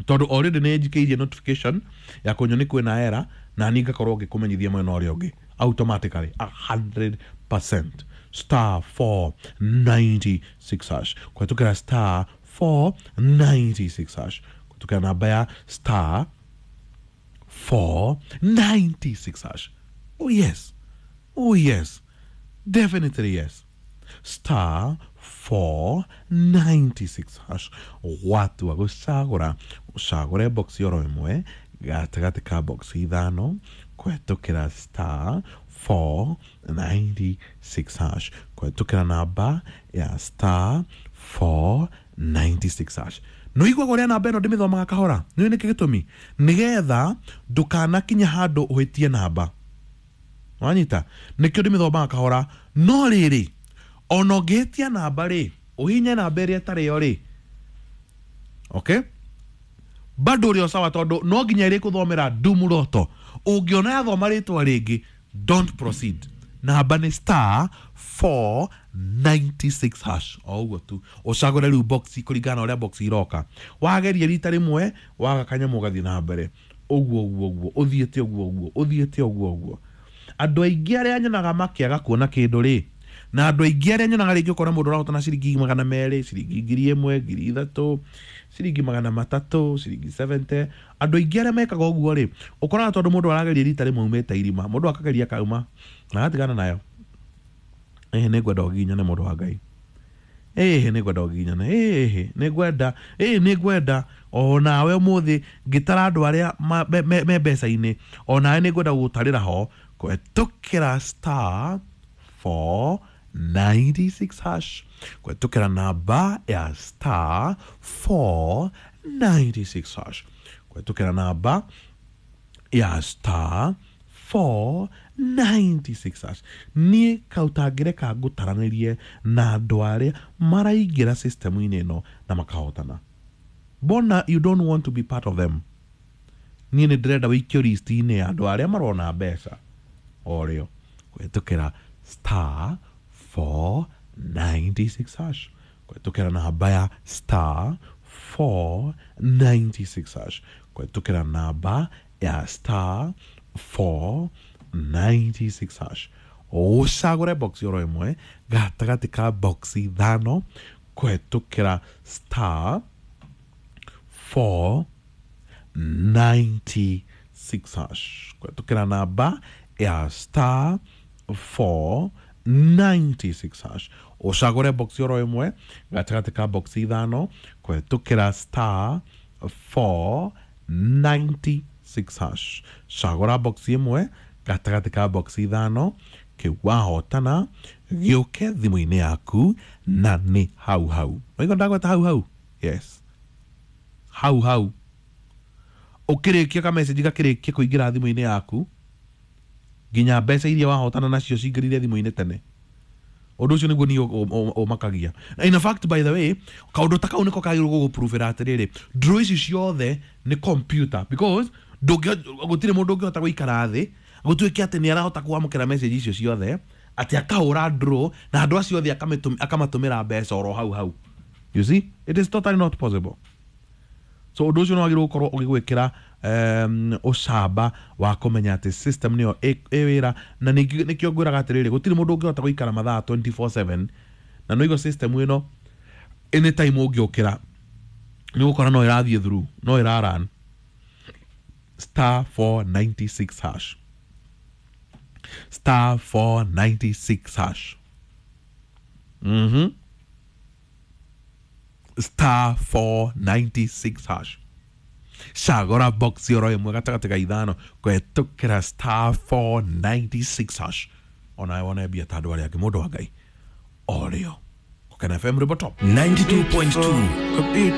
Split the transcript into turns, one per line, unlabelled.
Tondu already nĩ njikĩirie notification ya kũnyoni kwĩna era, na niĩ ngakorwo ngĩkũmenyithia mwena ũrĩa ũngĩ automatically 100%. Star 496 hash, kũhetũkĩra star 496 hash, kũhetũkĩra namba ya star 496 hash. Oh yes, oh yes, definitely yes. Star 496 hash. Watua gũcagũra, ũcagũre box oro ĩmwe gatagatĩ ka box ithano, kũhetũkĩra star 496 hash, kũhetũkĩra namba ya star 496 hash. No iguaga ũrĩa namba ĩno ndĩmĩthomaga kahora, nĩũĩ nĩkĩ gĩtũmi? Nĩgetha ndũkanakinye handũ ũhĩtie namba. Wanyita? Nĩkĩo ndĩmĩthomaga kahora. No rĩrĩ, ona ũngĩhĩtia namba rĩ, ũhinye namba ĩrĩa ĩtarĩ yo rĩ, okay, bado ũrĩ o sawa, tondũ no nginya ĩrĩ kũthomera ndumuroto. Ũngĩona yathoma rĩtwa rĩngĩ, don't proceed. Namba nĩ star 496 hash, o ũguo tu. Ũcagũre rĩu box kũringana na ũrĩa box iroka. Wageria rita rĩmwe, waga kanyamũ, ũgathiĩ na mbere ũguo ũguo ũguo, ũthiĩte ũguo ũguo, ũthiĩte ũguo ũguo. Andũ aingĩ arĩa nyonaga makĩaga kuona kĩndũ rĩ, na andũ aingĩ arĩa nyonaga rĩngĩ ũkona mũndũ ũrahotana ciringi 200, ciringi 1000, 3000, ciringi 300, ciringi 70, andũ aingĩ arĩa mekaga ũguo rĩ, ũkoraga tondũ mũndũ arageria rita rĩmwe aumĩte irima, mũndũ akageria akauma na agatigana nayo. Ĩhĩ, nĩ ngwenda ũgiginyane, mũndũ wa Ngai. Ĩhĩ, nĩ ngwenda ũgiginyane. Ĩhĩ, nĩ ngwenda, ĩĩ, nĩ ngwenda o nawe ũmũthĩ ngĩtara andũ arĩa me mbeca-inĩ, o nawe nĩ ngwenda gũgũtarĩra ho kũhetũkĩra star 496 hash, kũhetũkĩra namba ya star 496 hash, kũhetũkĩra namba ya star 496 hash. Niĩ kautangĩreka ngũtaranĩrie na andũ arĩa maraingĩra system-inĩ ĩno na makahotana. Bona you don't want to be part of them. Niĩ nĩ ndĩrenda wĩikio list-inĩ ya andũ arĩa marona mbeca o rĩo kũhetũkĩra star 496 hash, kũhetũkĩra namba ya star 496 hash, kũhetũkĩra namba ya star 496 hash. Ũcagũre box oro ĩmwe gatagatĩ ka box ithano, kũhetũkĩra star 496 hash, kũhetũkĩra namba ya star 496 hash. Ũcagũre box oro ĩmwe gatagatĩ ka box ithano, kũhetũkĩra star 496 hash. Cagũra box ĩmwe gatagatĩ ka box ithano, kĩu wahotana gĩũke thimũ-inĩ yaku na nĩ hau hau. Waigua ndagweta hau hau? Yes, hau hau. Ũkĩrĩkia ka message gakĩrĩkia kũingĩra thimũ-inĩ yaku, nginya mbeca iria wahotana nacio cingĩrire thimũ-inĩ tene. Ũndũ ũcio nĩguo niĩ ũmakagia. In fact, by the way, kaũndũ ta kau nĩko kagĩrĩirwo gũgũpruvĩra atĩrĩrĩ, draw ici ciothe nĩ computer, because gũtirĩ mũndũ ũngĩhota gũikara thĩ gũtuĩke atĩ nĩ arahota kwamũkĩra message icio ciothe, atĩ akahũra draw na andũ acio othe akamatũmĩra mbeca oro hau hau. You see, it is totally not possible. So ũndũ ũcio nĩ wagĩrĩirwo gũkorwo ũgĩgwĩkĩra ũcamba wa kũmenya atĩ system nĩyo ĩ wĩra. Na ningĩ nĩkĩo ngwĩraga atĩrĩrĩ, gũtirĩ mũndũ ũngĩhota gũikara mathaa 24/7, na nĩũigua system ĩno anytime ũngĩũkĩra nĩ ũgũkora no ĩrathiĩ through, no ĩra run. Star 496 hash, star 496 hash, star 496 hash. Cagũra box oro ĩmwe gatagatĩ ka ithano, kũhetũkĩra star 496 hash, onawe wone mbia ta andũ arĩa angĩ, mũndũ wa Ngai, o rĩo. Gũkena FM, rwĩmbo top.
92.2.